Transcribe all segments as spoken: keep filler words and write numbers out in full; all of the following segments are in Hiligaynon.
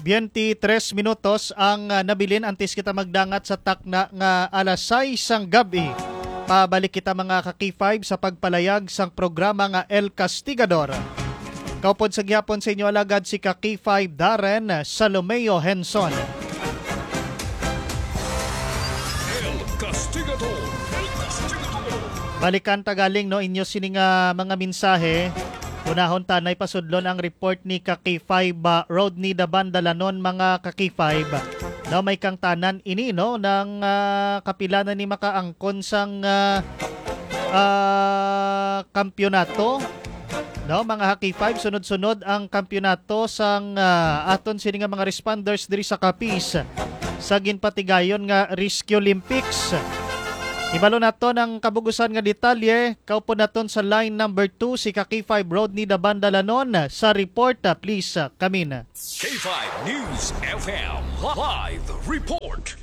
Twenty-tres minutos ang, ah, nabilin antes kita magdangat sa takna nga alas sais sang gab-i. Pabalik kita, mga ka-K five, sa pagpalayag sang programa nga El Castigador. Kaupod sa gihapon sa inyo alagad si ka-K five Darren Salomeo Henson. El Castigador. El Castigador. Balikan ta galing, no, inyo sini nga mga mensahe. Unahon ta nay pasudlon ang report ni ka-K five, ah, Rodney Dabandalanon, mga ka-K five. No, may kangtanan ini, no, nang, ah, kapila na ni makaangkon sang, ah, ah, kampiyonato. No, mga ka-K five, sunod-sunod ang kampiyonato sang, ah, aton sini nga mga responders diri sa Capiz sa ginpatigayon nga Rescue Olympics. Ibalo naton ang kabugusan nga detalye. Kaupod naton sa line number two si ka-K five Rodney Dabandalanon sa report. Ah, please, ah, come in. K five News F M live report.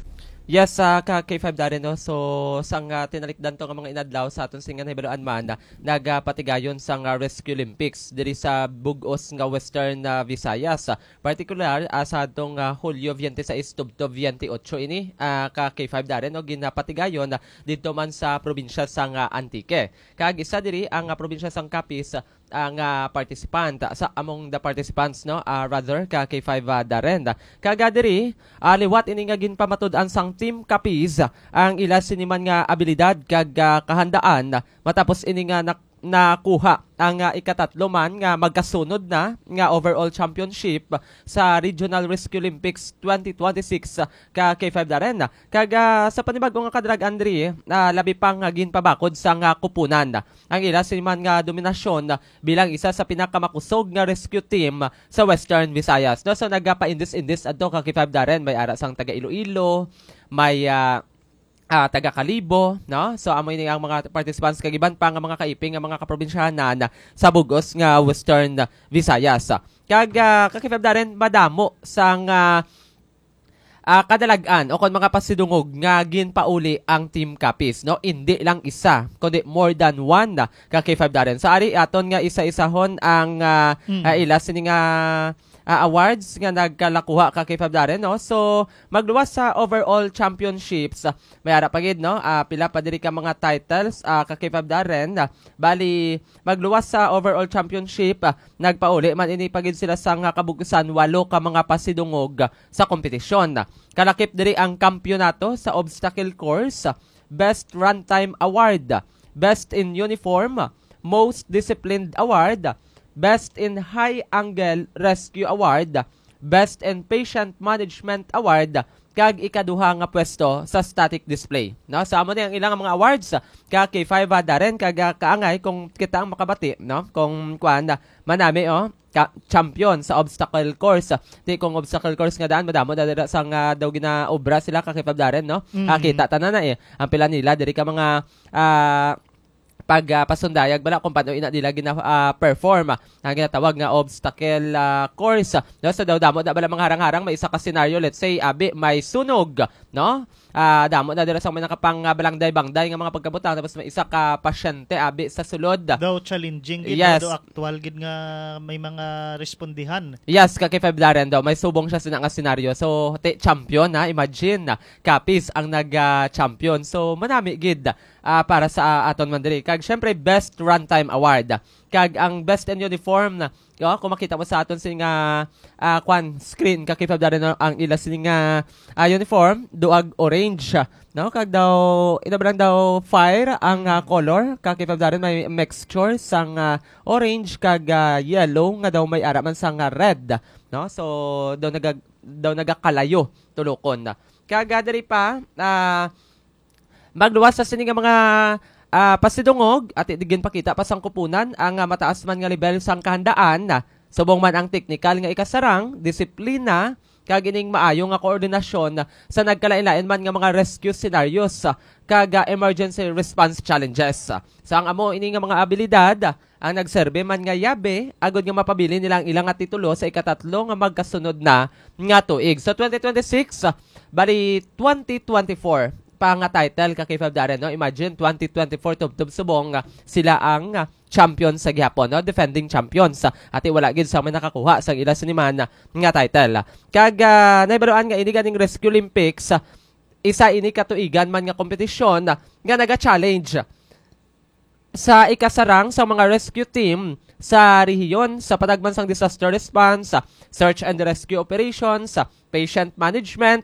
Yes, ah, ka K five Darren, no? So, sang, ah, tinalikdan to nga mga inadlaw sa aton sini nga nahibaluan man, ah, nagapatigayon sang, ah, Rescue Olympics diri sa bug-os nga Western, ah, Visayas. Ah, partikular, ah, sa adtong, ah, Hulyo twenty-six tubtob twenty-eight ini, ah, ka K five Darren, no, ginapatigayon, ah, didto man sa probinsya sang, ah, Antique. Kag isa diri ang, ah, probinsya sang Capiz, ah, nga participant, ah, sa among the participants, no, ah, rather, ka K five, ah, Darren. Kag, ah, diri, ah, liwat ini nga ginpamatud-an sang Team Capiz, ah, ang ila sini man nga abilidad kag, ah, kahandaan, ah, matapos ini nga nak-, nakuha ang, ah, ikatatlo man nga magkasunod na nga overall championship sa Regional Rescue Olympics twenty twenty-six, ah, ka K five Darren. Kag, ah, sa panibag-o nga kadrag, Andre, ah, labi pa nga ginpabakod sang, ah, kupunan ang ila sini man nga dominasyon bilang isa sa pinakamakusog nga rescue team sa Western Visayas, no? So, nagapaindis-indis adto ka K five Darren, may ara sang taga Iloilo, may, ah, ah, taga Kalibo, no? So, amo ini ang mga participants kag iban pa nga mga kaiping nga mga kaprobinsyanan sa bug-os nga Western Visayas. Kag, ah, ka K five Darren, madamo sang, ah, ah, kadalag-an o kon mga pasidungog nga ginpauli ang Team Capiz, no? Indi lang isa, kundi more than one na ka K five Darren. So, ari aton nga isa-isahon ang, ah, Mm. ah, ila sini nga, ah, awards nga nagkalakuha ka K five Darren, no? So, magluwas sa overall championships, ah, may ara pa gid, no? Ah, pila pa diri ka mga titles, ah, ka K five Darren. Ah, bali, magluwas sa overall championship, ah, nagpauli man ini pa gid sila sang, ah, kabug-usan walo ka mga pasidungog sa kompetisyon. Kalakip diri ang kampiyonato sa obstacle course, Best Runtime Award, Best in Uniform, Most Disciplined Award, Best in High Angle Rescue Award, Best in Patient Management Award, kag ikaduha nga pwesto sa static display. No? So, amo ni ang ilang mga awards ka K five, ah, Darren, kag, ah, kaangay kung kita ang makabati, no? Kung kuan, ah, manami, oh, ka, champion sa obstacle course. Di kung obstacle course nga daan, madamo na dira sang, ah, daw ginaobra sila ka K five Darren, no? Mm. Ah, kita tanan na eh. Ang pila nila, diri ka mga, ah, pag, ah, pasundayag bala kung paano ina nila gina, ah, perform, ah, ang ginatawag nga obstacle, ah, course. No? So, daw damo na bala mga harang-harang, may isa ka senaryo, let's say, abi, may sunog, no? Ah, damo na dira sa may nakapang, ah, balangday-bangday nga mga pagkabutang, tapos may isa ka pasyente, abi, sa sulod. Daw challenging gid, Yes. Daw aktual gid nga may mga respondihan. Yes, ka K five Darren daw, may subong siya sina nga senaryo. So, ti-, champion, ha? Imagine, Capiz ang nag, ah, champion. So, manami gid, ah, para sa, ah, aton man diri. Kag, syempre, Best Runtime Award. Kag ang Best in Uniform, oh, kung makita mo sa aton sini nga, ah, kwan, screen, ka K five Darren, no, ang ila sini nga, ah, uniform, duag orange, no? Kag daw, ina ba lang daw fire ang, ah, color, ka K five Darren, may mixture sang, ah, orange kag, ah, yellow nga daw may ara man sang, ah, red, no? So, daw naga-, daw nagakalayo tulokon. Kag, ah, diri pa, ah, magluwas sa sini nga mga, ah, pasidungog, at ginpakita pa sang kupunan ang, ah, mataas man nga level sang kahandaan, subong man ang teknikal nga ikasarang, disiplina, kag ining maayo nga koordinasyon sa nagkalain-lain man nga mga rescue scenarios, kag, ah, emergency response challenges. Sa ang amo ini nga mga abilidad, ang nagserbi man nga yabe agod nga mapabilin nila ang ila nga titulo sa ikatatlo nga magkasunod na nga tuig. Sa twenty twenty-six, bali twenty twenty-four, pa nga title ka K five Darren, no? Imagine, twenty twenty-four tubtob subong, ah, sila ang, ah, champion sa gihapon, no? Defending champions. Ah, ati wala gid sa may nakakuha sa ila siniman nga title. Kag, ah, nahibaluan nga ini ganing Rescue Olympics, ah, isa ini katuigan man nga kompetisyon, ah, nga naga-challenge sa ikasarang sa mga rescue team sa rehiyon sa patagman sang disaster response, search and rescue operations, patient management,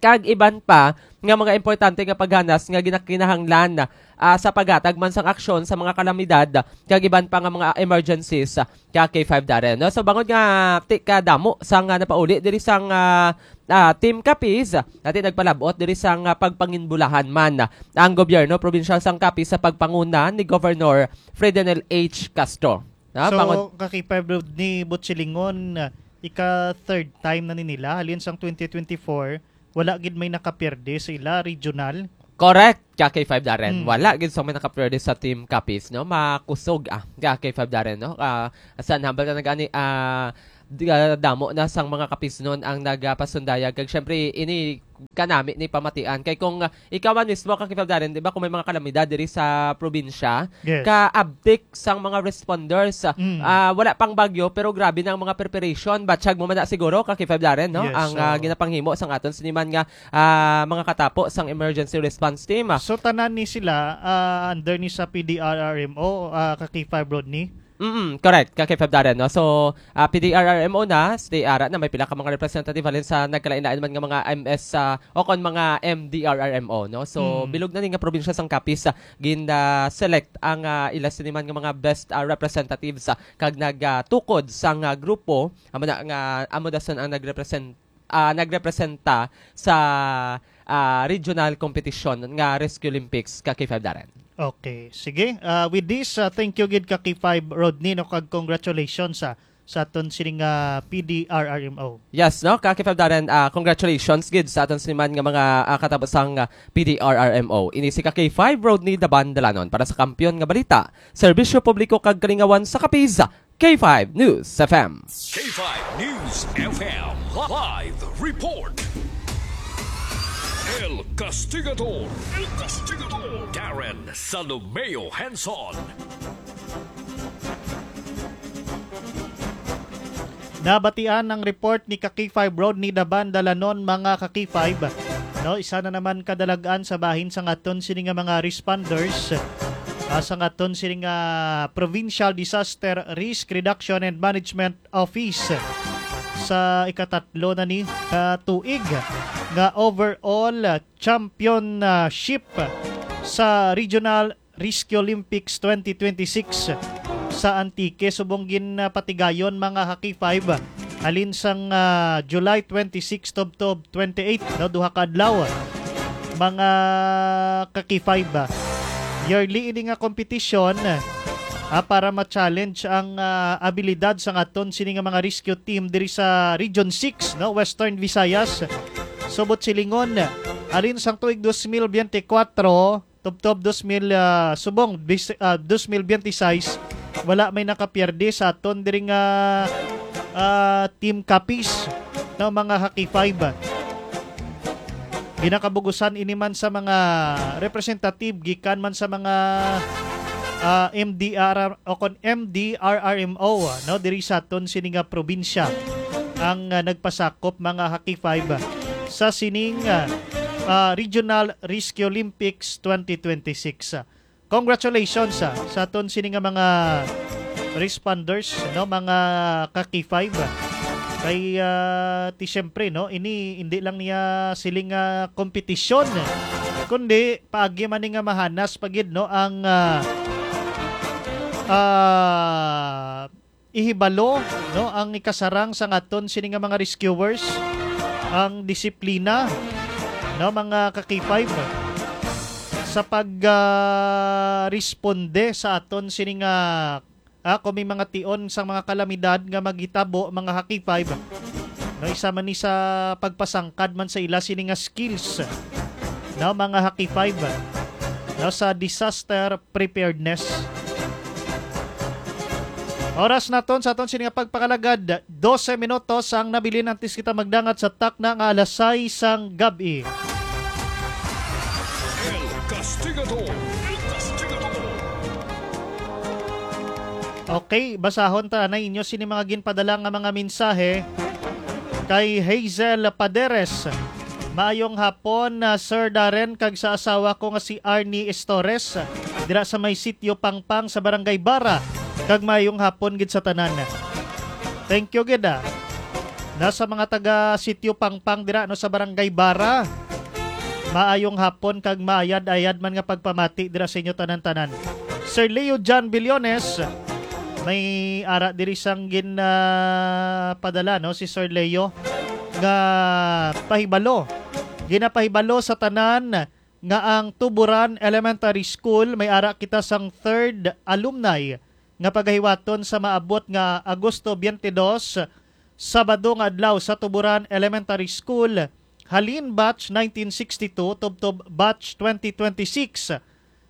kag iban pa nga mga importante nga paghanas nga ginakinahanglan, ah, sa paghatag man sang aksyon sa mga kalamidad kag iban pa nga mga emergencies, ah, ka K five Darren, no? So, bangod nga ti ka damo sang, ah, napauli diri sang, ah, ah, Team Capiz, ati nagpalabot diri sang, ah, pagpanginbulahan man ang gobyerno probinsyal sang Capiz sa pagpanguna ni Governor Fredenel H Castro. Na, So, bangod ka K five Rodney Butchilingon, ika third time na ni nila. Halin sang twenty twenty-four, wala gid may nakapierde sa ila regional. Correct, ka K five Darren. Hmm. Wala gid sa may nakapierde sa Team Capiz, no? Makusog, ah, ka K five Darren, no? Ah, sa humble na nagani, ah, di-, ah, damo na sang mga Capiznon ang nagapasundayag. Kag syempre, ini kanami ni pamatian. Kay kung, ah, ikaw man mismo, ka K five Darren, di ba, kung may mga kalamidad diri sa probinsya, Yes. kaabtik sang mga responders, ah, Mm. ah, wala pang bagyo, pero grabe na ang mga preparation. Batsyag mo man na siguro, ka K five Darren, no? Yes, Ang, ah, so ginapanghimo sang aton siniman nga, ah, mga katapo sang emergency response team, ah. So, tanan ni sila, ah, under ni sa P D R R M O, ah, ka K five Rodney? Mm, correct, ka K five Darren, no? So, ah, P D R R M O na, stay ara na, may pila ka mga representative halin sa nagkalain-lain man nga mga M S, ah, o kon mga M D R R M O, no? So, Mm. bilog na ni nga probinsya sang Capiz, ah, gin, ah, select ang, ah, ila siniman nga mga best, ah, representatives, ah, kag nag, ah, tukod sang, ah, grupo, amo na nga, amo dason ang nagrepresent-, ah, nagrepresenta sa, ah, regional competition nga Rescue Olympics ka K five Darren. Okay. Sige. Ah, with this, ah, thank you gid ka K five Rodney, no, kag congratulations sa, sa aton sining, ah, P D R R M O. Yes, no? Ka K five Darren, ah, congratulations gid sa aton siniman nga mga, ah, katabusang, ah, P D R R M O. Ini si ka K five Rodney Daban Dalanon para sa Kampiyon nga Balita. Serbisyo publiko kag kalingawan sa Capiz, K five News F M. K five News F M live report. El Castigador, El Castigador, Darren Salomeo Hanson. Nabatian ang report ni ka K five Rodney Daban Dalanon, mga ka K five. No, isa na naman kadalag-an sa bahin sang aton sini nga mga responders, ah, sang aton sini nga Provincial Disaster Risk Reduction and Management Office sa ikatatlo na ni ka tuig nga overall championship sa Regional Risky Olympics twenty twenty-six sa Antique. Subong ginpatigayon, mga ka K five, halin sang, ah, July twenty-six tubtob twenty-eight, no, duha ka adlaw, mga ka K five. Yearly ini nga kompetisyon, ah, para ma-challenge ang, ah, abilidad sang aton sini nga mga rescue team diri sa Region six, no, Western Visayas. Subot silingon, halin sang tuig dos mil biyente kwatro, tubtob dos mil, ah, subong, bis-, ah, dos mil biyente sais, wala may nakapierde sa aton diri nga, ah, Team Capiz, no, mga ka K five. Ginakabugusan ini man sa mga representative gikan man sa mga, ah, M D R o kon M D R R M O, no, diri sa aton sini nga probinsya ang, ah, nagpasakop, mga ka K five, sa sining, ah, ah, Regional Risky Olympics twenty twenty-six. Congratulations, ah, sa aton sini nga mga responders, no, mga ka K five. Kay, ah, ti siyempre, no, ini hindi lang niya siling nga kompetisyon, kundi paagi man ni nga mahanas pa gid, no, ang, ah, ah, ihibalo, no, ang ikasarang sang aton sini nga mga rescuers, ang disiplina, no, mga ka K five, sa pag, ah, responde sa aton sini nga, ah, kung may mga tion sang mga kalamidad nga maghitabo, mga ka K five, no, isa man ni sa pagpasangkad man sa ila sini nga skills, no, mga ka K five, no, sa disaster preparedness. Oras naton sa aton sini nga pagpakalagad, dose minutos ang nabilin antes kita magdangat sa takna nga alas sais sang gab-i. Okay, basahon ta na inyo sini mga ginpadala nga mga mensahe. Kay Hazel Paderes, "Maayong hapon, ah, Sir Darren, kag sa asawa ko nga si Arnie Estores, dira sa may Sitio Pangpang sa Barangay Bara, kag maayong hapon gid sa tanan." Thank you gid, ah. Nasa mga taga Sitio Pangpang dira, no, sa Barangay Bara. Maayong hapon kag maayad-ayad man nga pagpamati dira sa inyo tanan-tanan. Sir Leo John Billones, may ara diri sang gin, ah, padala, no, si Sir Leo, nga pahibalo. Ginapahibalo sa tanan nga ang Tuburan Elementary School may ara kita sang third alumni nga pagahiwaton sa maabot nga Agosto twenty-two, Sabado nga adlaw sa Tuburan Elementary School, halin batch nineteen sixty-two tubtob batch twenty twenty-six.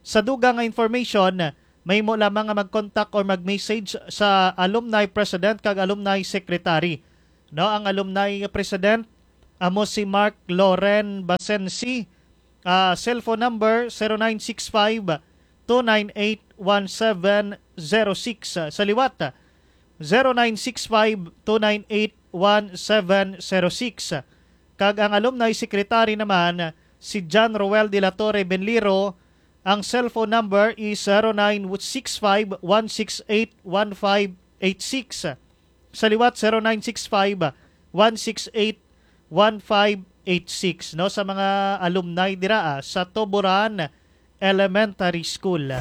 Sa dugang nga information, mahimo lamang nga mag-contact or mag-message sa alumni president kag alumni secretary. No, ang alumni president amo si Mark Loren Basensi, ah, cellphone number zero nine six five two nine eight one seven zero six. Sa liwat, zero nine six five two nine eight one seven zero six. Kag ang alumni secretary naman, si John Roel de la Torre Benliro, ang cellphone number is zero nine six five one six eight one five eight six. Sa liwat, zero nine six five one six eight one five eight six, no, sa mga alumni dira, ah, sa Tuburan Elementary School.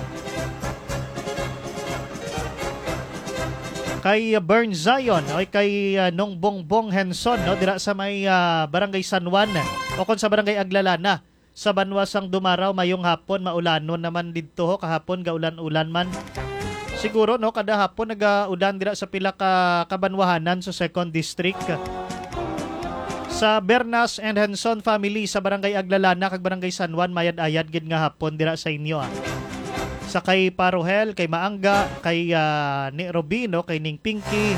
Kay Bern Zion, o kay, ah, Nong Bongbong Henson, no, dira sa may, ah, Barangay San Juan, o kon sa Barangay Aglalana, sa banwa sang Dumaraw, mayong hapon, maulanon naman didto, ho, kahapon gaulan-ulan man. Siguro, no, kada hapon nagaulan dira sa pila ka kabanwahanan sa Second District. Sa Bernas and Henson family sa Barangay Aglalana kag Barangay San Juan, mayad-ayad gid nga hapon dira sa inyo, ah. Sa kay Parohel, kay Maangga, kay, ah, ni Robino, kay Ning Pinky,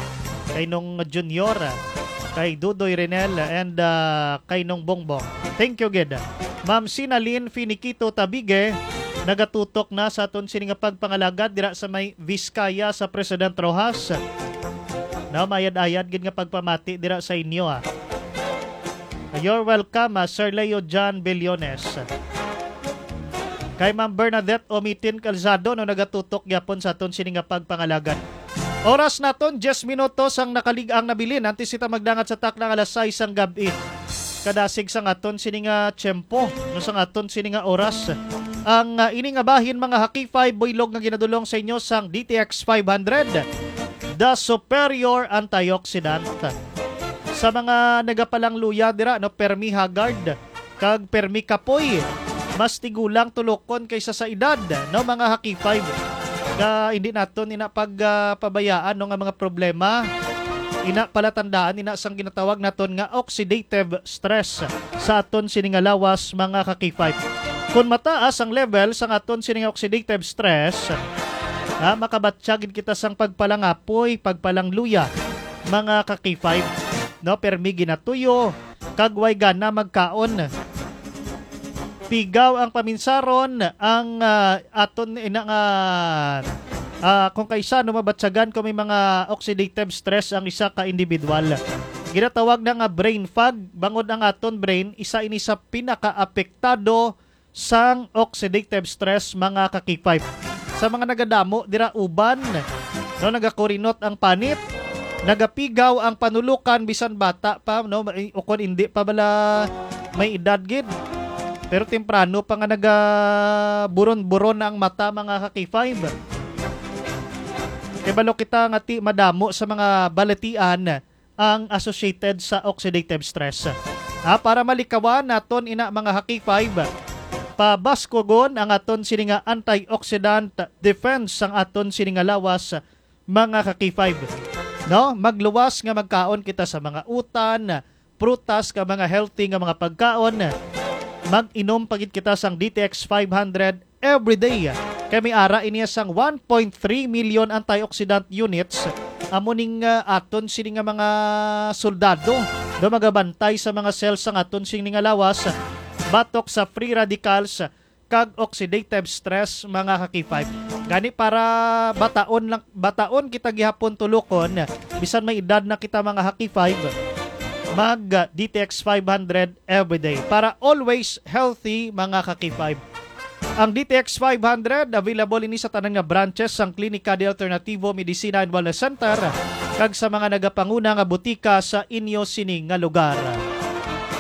kay Nong Junior, kay Dudoy Renel, and, ah, kay Nong Bongbong. Thank you gid. Ma'am Sinalin Finiquito Tabige, nagatutok na sa aton sini nga pagpangalagad dira sa may Vizcaya sa President Roxas. Na mayad-ayad gid nga pagpamati dira sa inyo, ah. You're welcome, ah, Sir Leo John Billones. Kay Ma'am Bernadette Omitin Calzado, no, nagatutok gyapon sa aton sini nga pagpangalagad. Oras naton, diyes minutos ang nakalig-ang nabilin. Antes kita magdangat sa takna nga alas sais sang gab-i. Kadasig sang aton sini nga tiyempo, no, sang aton sini nga oras. Ang, ah, ini nga bahin, mga Hakifi, buylog nga ginadulong sa inyo sang D T X five hundred, The Superior Antioxidant. Sa mga nagapalangluya dira, no, permi haggard kag permi kapoy, mas tigulang tulokon kaysa sa edad, no, mga Hakifi. Nga hindi naton ina pag, ah, pabayaan, no, nga mga problema, ina palatandaan ina sang ginatawag naton nga oxidative stress sa aton sini nga lawas, mga Hakifi. Kung mataas ang level sang aton sini nga oxidative stress, ha, makabatya gid kita sang pagpalangapoy, pagpalangluya, mga Hakifi. No, permi ginatuyo, kag way gana magkaon. Pigaw ang paminsaron, ang, ah, aton ina nga, ah, kung kaisa, no, mabatyagan kung may mga oxidative stress ang isa ka individual. Ginatawag na nga brain fog, bangod ang aton brain, isa ini sa pinakaapektado sang oxidative stress, mga Hakifi. Sa mga nagadamo dira uban, no, nagakurinot ang panit, nagapigaw ang panulukan bisan bata pa, no, o kon hindi pa bala may edad gid. Pero temprano pa nga nagaburon-buron na ang mata, mga Hakifi. Kay balo kita nga ti madamo sa mga balatian ang associated sa oxidative stress. Ha, para malikawan naton ina, mga Hakifi, pabaskugon ang aton sini nga antioxidant defense sang aton sini nga lawas, mga Hakifi. No, magluwas nga magkaon kita sa mga utan, prutas, kag mga healthy nga mga pagkaon. Mag-inom pa gid kita sang D T X five hundred every day. Kay may ara ini sang one point three million antioxidant units. Amo ning, ah, aton sini nga mga soldado nga magabantay sa mga cells sang aton sini nga lawas batok sa free radicals kag oxidative stress, mga ka-K five. Gani para bataon lang, bataon kita gihapon tulokon, bisan may edad na kita, mga ka-K five, mag, ah, D T X five hundred everyday para always healthy, mga ka-K five. Ang D T X five hundred available ini sa tanan nga branches sang Klinika de Alternativo Medicina and Wellness Center kag sa mga nagapanguna nga butika sa inyo sini nga lugar.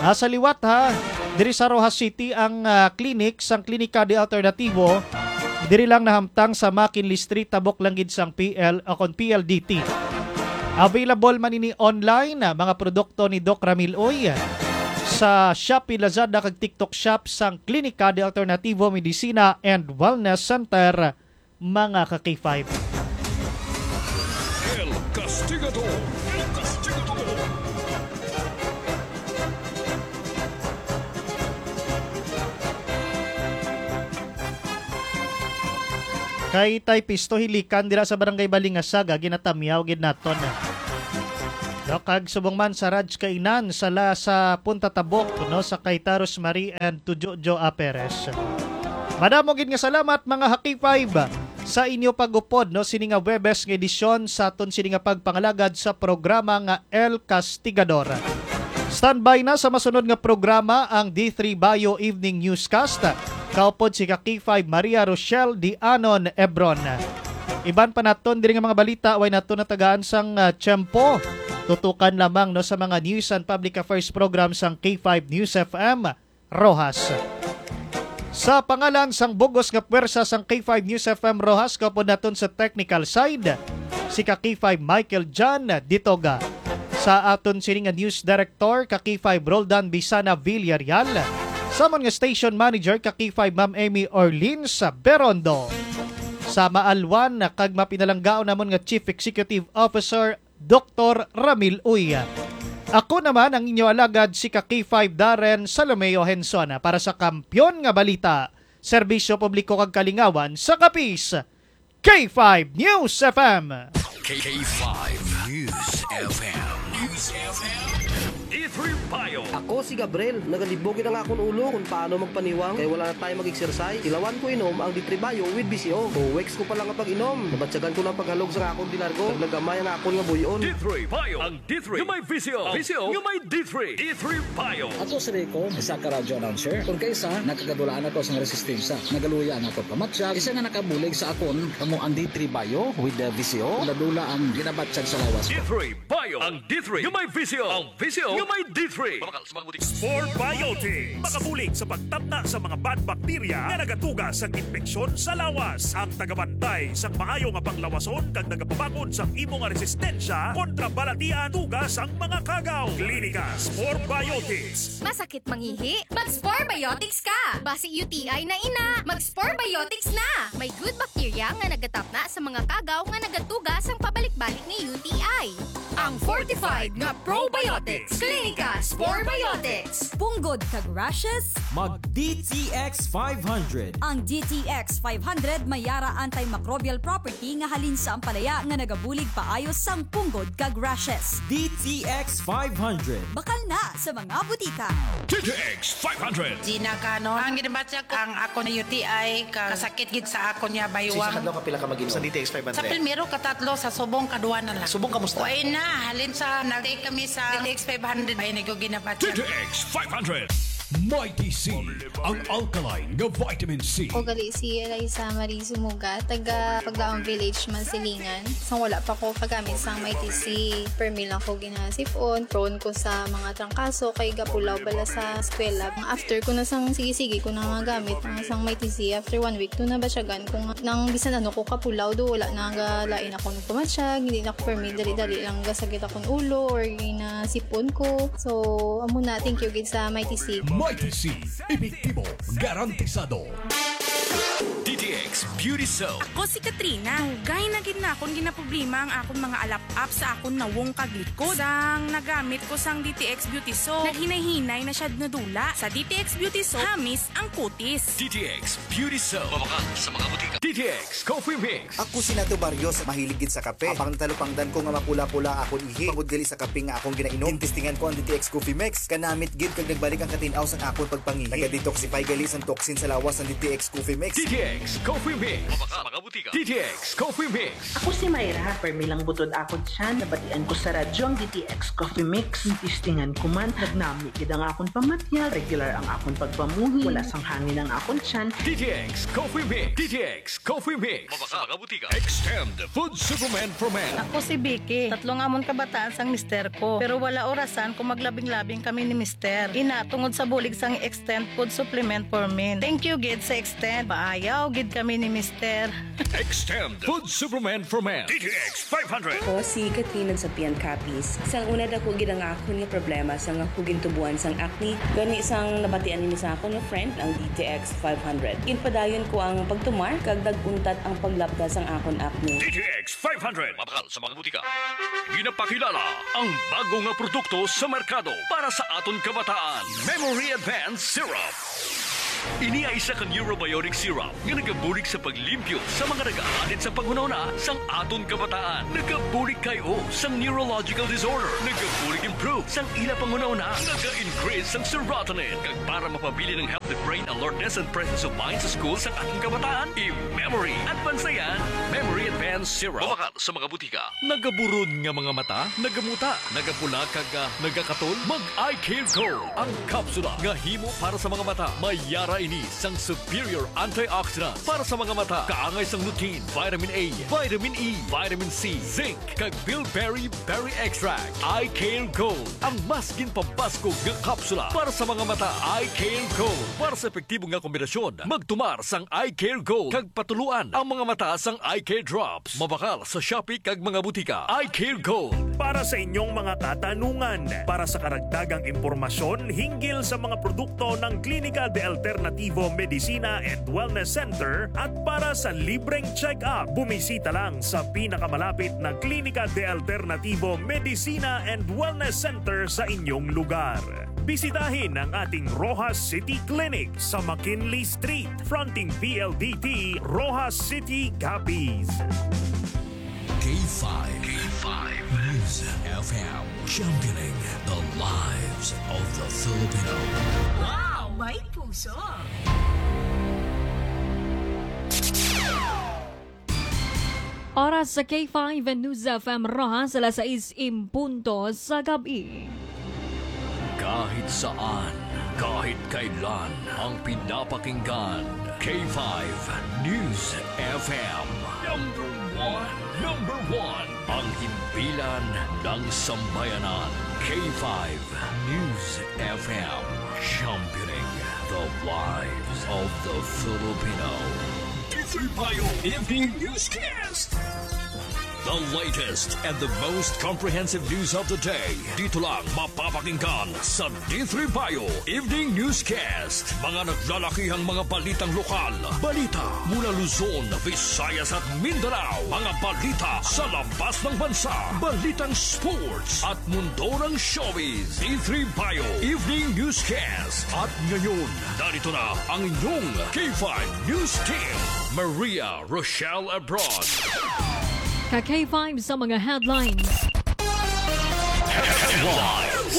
Ah, sa liwat, ha, diri sa Roxas City ang, ah, clinic sang Klinika de Alternativo. Diri lang nahamtang sa McKinley Street, tabok lang gid sang P L o kon P L D T. Available man ini online, ah, mga produkto ni Doc Ramil Uy, sa Shopee, Lazada kag TikTok Shop sang Klinika de Alternativo Medicina and Wellness Center, mga ka-K five. El Castigador. El Castigador. Kay Tay Pisto Hilikan dira sa Barangay Balingasag, ah, ginatamyaw gid naton. No, kag subong man sa Raj Kainan sa la, sa Punta Tabok, no, sa kay Taros Marie and to Jojo A. Perez. Madamo gid nga salamat, mga ka-K five, sa inyo pag-upod, no, sini nga Webes nga edisyon sa aton sini nga pagpangalagad sa programa nga El Castigador. Standby na sa masunod nga programa ang D three Bio Evening Newscast. Kaupod si ka-K five Maria Rochelle Dianon Ebron. Iban pa naton diri nga mga balita, way naton natagaan sang, ah, tiyempo. Tutukan lamang, no, sa mga News and Public Affairs program sang K five News F M Roxas. Sa pangalan sang bugos nga puwersa sang K five News F M Roxas, kaupod naton sa technical side, si ka-K five Michael John Ditoga. Sa aton sini nga news director, ka-K five Roldan Bisana Villarreal. Sa amon nga station manager, ka-K five Ma'am Amy Orleans Berondo. Sa maalwan kag mapinalanggaon namon nga Chief Executive Officer, Doktor Ramil Uy. Ako naman ang inyo alagad, si ka-K five Darren Salomeo Henson, para sa Kampiyon nga Balita, Serbisyo Publiko kag Kalingawan sa Capiz, K five News F M. K five News F M. News F M. D three Bio. Ako si Gabriel. Nagalibog gid ang akon ulo kung paano magpaniwang kay wala na tayo mag-exercise. Ilawan ko inom ang D three Bio with V C O. Two weeks ko pa lang nga pag-inom, nabatyagan ko na ang paghalog sa akon di largo. Naglagamay ang akon nga buy-on. D three Bio. Ang D three nga may V C O. V C O nga may D three. D three Bio. Ako si Rico, isa ka radio announcer. Kung kaisa, nakagadulaan ako sa resistensya. Nagaluya ang akon pamatyag. Isa nga nakabulig sa akon, kamo ang D three Bio with the V C O. Dula-dula ang ginabatyag sa lawas ko. D three Bio. Ang D three nga may V C O. Ang V C O nga may D three. Spore Biotics. Makabulig sa pagtapna sa mga bad bacteria nga nagatuga sang impeksyon sa lawas. Ang tagabantay sang maayo nga panglawason kag nagapabakod sang imo nga resistensya kontra balatian tuga sang mga kagaw. Klinika Spore Biotics. Masakit mangihi? Mag-Spore Biotics ka! Basi U T I na ina, mag-Spore Biotics na! May good bacteria nga nagatapna sa mga kagaw nga nagatuga sang pabalik-balik nga U T I. Ang fortified nga probiotics. Klinika Spore Biotics. Punggod kag rashes? Mag D T X five hundred. Ang D T X five hundred may yara antimicrobial property nga halin sa ampalaya nga nagabulig paayo sang punggod kag rashes. D T X five hundred. Bakal na sa mga butika. D T X five hundred. Gina Canon. Ang ginabatyag ko, ang ako na U T I, ka kasakit gid sa ako niya baywang. Sa adlaw, kapila ka mag-inom sa D T X five hundred? Sa primero, katatlo, sa subong, kadua na lang. Subong, kamusta? Way na, halin sa nag-take kami sa D T X five hundred, ay, naguginabatyag. D T X five hundred. Mighty C, ang alkaline nga vitamin C. Ako gali si Eliza Marie Zumuga, taga Paglaong Village, Masilingan. Sang wala pa ko kagamit sang Mighty C, permi lang ko ginasipon. Prone ko sa mga trangkaso kay gapulaw bala sa eskwela. After ko na sang sige-sige ko na nga gamit ang sang Mighty C, after one week, to nabatyagan ko nga nang bisan ano ko kapulaw, do wala na nga lain ako nagpamatyag, hindi na ako permi dali-dali lang gasakit akong ulo or ginasipon ko. So, amo na, thank you gid sa Mighty C. Mighty C, epektibo, garantisado. D T X Beauty Soap. Ako si Katrina. Dugay na gid na akon ginaproblema ang akon mga alap-ap sa akon nawong kag likod. Sang nagamit ko sang D T X Beauty Soap, naghinay-hinay na siya nadula. Sa D T X Beauty Soap, hamis ang kutis. D T X Beauty Soap. Mabakal sa mga butika. D T X Coffee Mix. Ako si Nato Barrios, mahilig gid sa kape. Habang natalupangdan ko nga mapula-pula akon ihi, bangod gali sa kape nga akong ginainom, gintistingan ko ang D T X Coffee Mix. Kanamit gid kag nagbalik ang katin-aw sang akon pagpangihi. Naga-detoxify gali sang toxin sa lawas ang D T X Coffee Mix. D T X Coffee Mix. Mabakal sa mga butika. D T X Coffee Mix. Ako si Myra, permi lang butod akon tiyan. Nabatian ko sa radyo ang D T X Coffee Mix. Gintistingan ko man, nagnami gid ang akon pamatyag. Regular ang akon pagpamuhi. Wala sang hangin ang akon tiyan. D T X Coffee Mix. D T X Coffee Mix. Mabakal sa mga butika. Extend Food Supplement for Men. Ako si Vicky. Tatlo nga amon kabataan sang mister ko, pero wala orasan kung maglabing-labing kami ni mister. Ina, tungod sa bulig sang Extend Food Supplement for Men. Thank you gid sa Extend. Paayaw gid kami ni mister. Extend Food Supplement for Men. D T X five hundred. Ako si Katrina Sapian Capiz. Sang una, dako gid ang akon nga problema sang ako gintubuan sang acne. Gani, sang nabatian ini sa akon nga friend, ang D T X five hundred, ginpadayon ko ang pagtumar kag nag-untat ang paglapda sang akon acne. D T X five hundred. Mabakal sa mga butika. Ginapakilala ang bago nga produkto sa merkado para sa aton kabataan, Memory Advance Syrup. Ini ay isa ka neurobiotic syrup nga nagabulig sa paglimpyo sa mga nagaalit sa panghunahuna sang aton kabataan. Nagabulig kay-o sang neurological disorder. Nagabulig improve sang ila panghunahuna. Naga-increase sang serotonin. Kag para mapabilin ang healthy brain alertness and presence of mind sa school sang aton kabataan, i-memory. Advance na yan. Memory Advance Syrup. Mabakal sa mga butika. Nagaburon nga mga mata, nagamuta, nagapula, kag, ah, nagakatol? Mag Eye Care Gold, ang kapsula nga himo para sa mga mata. May yara ini sang superior antioxidant para sa mga mata, kaangay sang lutein, vitamin A, vitamin E, vitamin C, zinc, kag bilberry berry extract. Eye Care Gold, ang mas ginpabaskog nga kapsula para sa mga mata. Eye Care Gold, para sa epektibo nga kombinasyon, magtumar sang Eye Care Gold kag patuluan ang mga mata sang Eye Care Drops. Mabakal sa Shopee kag mga butika. Eye Care Gold. Para sa inyong mga katanungan, para sa karagdagang impormasyon hinggil sa mga produkto ng Klinika de Alternativo Medicina and Wellness Center at para sa libreng check-up, bumisita lang sa pinakamalapit na Klinika de Alternativo Medicina and Wellness Center sa inyong lugar. Bisitahin ang ating Roxas City Clinic sa McKinley Street, fronting P L D T, Roxas City, Capiz. K five. K five News F M, championing the lives of the Filipino. Wow! May puso! Oras sa K five News F M Roxas, alas sais en punto sa gab-i. Kahit saan, kahit kailan, ang pinapakinggan, K five News F M. Number one, number one, ang himpilan ng sambayanan, K five News F M, championing the lives of the Filipino. D three Bio Evening Newscast. The latest and the most comprehensive news of the day. Dito lang mapapakinggan sa D three Bio Evening Newscast. Mga naglalakihang mga balitang lokal. Balita mula Luzon, Visayas at Mindanao. Mga balita sa labas ng bansa. Balitang sports at mundo ng showbiz. D three Bio Evening Newscast. At ngayon, narito na ang inyong K five News Team. Maria Rochelle Abroad. Ka K five sa mga headlines. Headlines.